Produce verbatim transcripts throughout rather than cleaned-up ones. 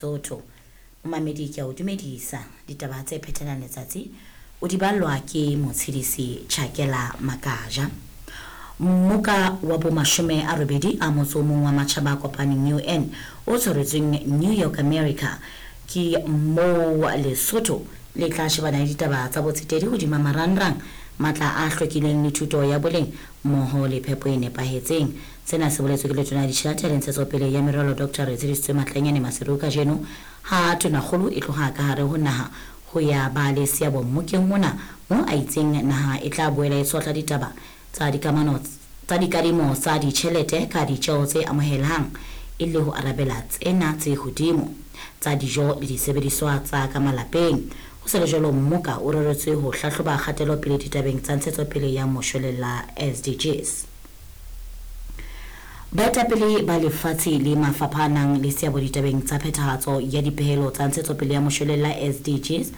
Lesotho. Momamedi, ke a o dumedisa. Ditaba tse phethelang letsatsi o di ballwa ke Motshedisi Chakela Makaja. Mmoka wa bo mashome a robedi a motso o mong wa matjhaba a kopaneng U N o tshwaretsweng New York, America, ke moo Lesotho le tla shebana le ditaba tsa botsetedi hodima marangrang, matla a hlwekileng le thuto ya boleng mmoho le phepo e nepahetseng. Sena se boletswe ke Letona la Ditjhelete le Ntshetsopele ya Meralo, Doctor Retshedisitswe Matlanyane Maseru, kajeno ha tonakgolo e tloha ka hare ho naha ho ya ba le seabo mmokeng ona, mo a itseng naha e tla boela e tshotla ditaba tsa dikamano tsa dikadimo tsa ditjhelete ka ditjeo tse amohelehang e le ho arabela tsena tse hodimo tsa dijo le disebediswa tsa ka malapeng. Ho sa le jwalo, mmoka o reretswe ho hlahloba kgatelopele ditabeng tsa ntshetsopele ya moshwelella, S D Gs. Baetapele ba lefatshe le mafapha a nang le seabo ditabeng tsa phethahatso ya dipehelo tsa ntshetsopele ya moshwelella, S D Gs,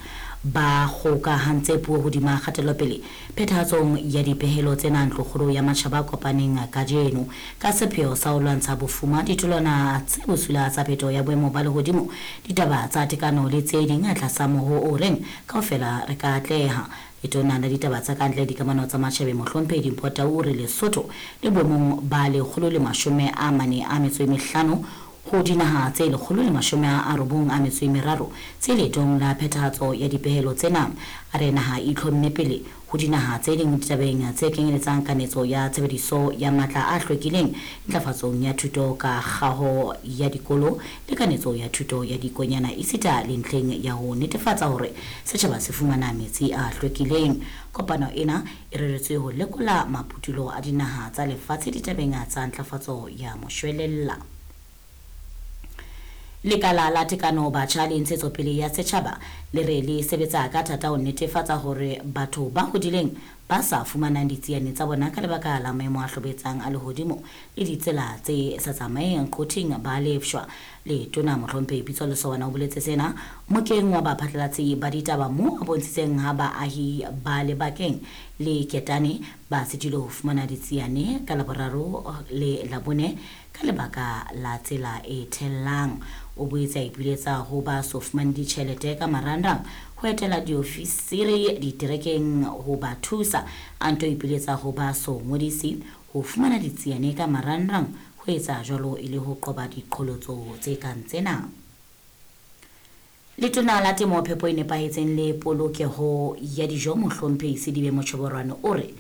ba kgokahantse puo hodima kgatelopele phethahatsong ya dipehelo tsena Ntlokgolo ya Matjhaba a Kopaneng kajeno, ka sepheo sa ho lwantsha bofuma, ditholwana tse bosula tsa phetoho ya boemo ba lehodimo, ditaba tsa tekano le tse ding, tlasa moho o reng "Kaofela re ka atleha". Letona la Ditaba tsa Kantle, Dikamano tsa Matjhabeng, Mohlomphehi Dimpho Tau, o re Lesotho le boemong ba lekgolo le mashome a mane a metso e mehlano ho dinaha tse lekgolo le mashome a robong a metso e meraro tse leetong la phethahatso ya dipehelo tsena. A re naha e itlhomme pele ho dinaha tse ding ditabeng tse kenyeletsang kanetso ya tshebediso ya matla a hlwekileng, ntlafatsong ya thuto ka kgaho ya dikolo le kanetso ya thuto ya dikonyana, esita le ntlheng ya ho netefatsa hore setjhaba se fumana metsi a hlwekileng. Kopano ena e reretswe ho lekola maputulo a dinaha tsa lefatshe ditabeng tsa ntlafatso ya moshwelella. Lekala la Tekano, Batjha le Ntshetsopele ya Setjhaba le re le sebetsa ka thata ho netefatsa hore batho ba hodileng ba sa fumanang ditsiane tsa bona ka lebaka la maemo a hlobetsang a lehodimo le ditsela tse sa tsamaeng qothing ba lefshwa. Letona Mohlomphehi Pitso Lesowana o boletse sena mokeng wa baphatlalatsi ba ditaba, mo a bontshitseng ha baahi ba lebakeng le Ketane ba sitilwe ho fumana ditsiane ka Laboraro le Labone ka lebaka la tsela e thellang. O boetse a ipiletsa ho ba so fumane ditjhelete ka marangrang ho etela diofisiri diterekeng ho ba thusa. A nto ipiletsa ho ba so ngodisi ho fumana ditsiane ka marangrang, ho etsa jwalo e le ho qoba diqholotso tse kang tsena. Letona la Temo, Phepo e Nepahetseng le Polokeho ya Dijo, Mohlomphehi Sedibe Mochoborwane, o re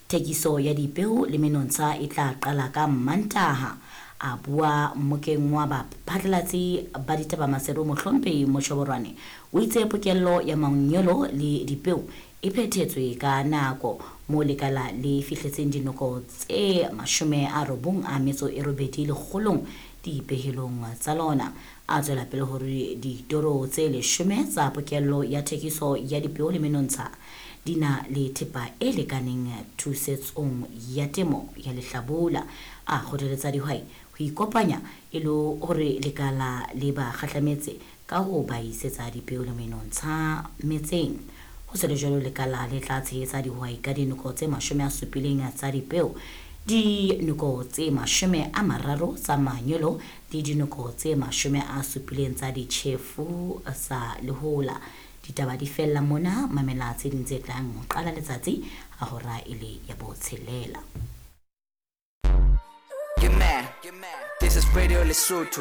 thekiso ya dipeo le menontsha e tla qala ka Mantaha. A bua mmokeng wa baphatlalatsi ba ditaba Maseru, Mohlomphehi Mochoborwane o itse pokello ya manyolo le dipeo e phethetswe ka nako, mo lekala le fihletseng dinoko tse mashome a robong a metso e robedi lekgolong dipehelong tsa lona. A tswela pele hore ditoro tse leshome tsa pokello ya thekiso ya dipeo le menontsha di na le thepa e lekaneng thusetsong ya temo ya lehlabula. A kgothaletsa dihwai ho ikopanya e le hore lekala le ba kgahlametse ka ho ba isetsa dipeo le menontsha metseng. Ho se le jwalo, lekala le tla tshehetsa dihwai ka dinoko tse mashome a supileng tsa dipeo, dinoko tse mashome a mararo tsa manyolo le dinoko tse mashome a supileng tsa ditjhefu sa lehola. Ditaba di fella mona. Mamela tse ding tse tlang ho qala letsatsi ha hora e le ya botshelela. Get mad. This is Radio Lesotho.